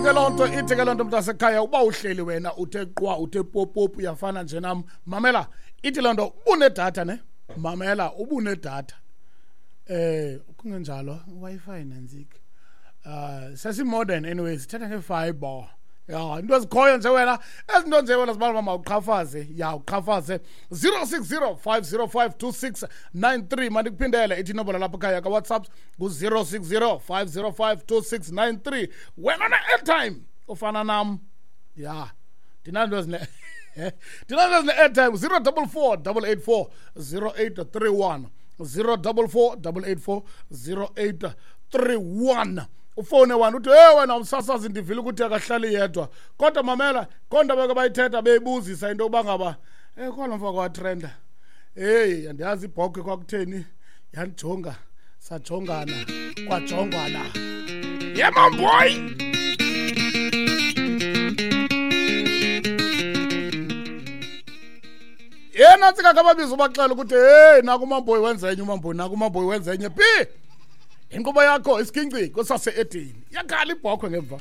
Ithi ke loo nto, ithi ke loo nto, mntasekhaya, uba uhleli wena uthe qwa, uthe popopu, uyafana nje nam. Mamela, ithi loo nto ubunedatha ne, mamela, ubunedatha, kungenjalo Wi-Fi nantsika, sesi-modern anyway, sithetha nge-fiber ya, into ezikhoyo nje wena, ezinto nje wena zibala uba mawuqhafaze, ya, uqhafaze 060 505 2693. Mandikuphindele, ithi inombolo lapha ekhaya kaWhatsApp ngu-060 505 2693. Wena ne-airtime ufana nam, ya, ndinanto ezine, ndinanto ezine-airtime, 044 884 0831, 044 884 0831. Ufowune wena uthi, "Hey wena umsasazi, ndivile ukuthi akahlali yedwa." Kodwa mamela, konto beke bayithetha beyibuzisa into yokuba ngaba khona mfako watrenda. Heyi, andiyazi ibhokhwe kwakutheni yandijonga, sajongana, kwajongwana. Yemamboy, yena ntsika kababiza, ubaxela ukuthi heyi, naku umamboyi wenza enye, umamboyi naku, umamboyi wenza enye phi. Inkqubo yakho isiginci kusase-edini, yakhala ibhokhwe ngemva.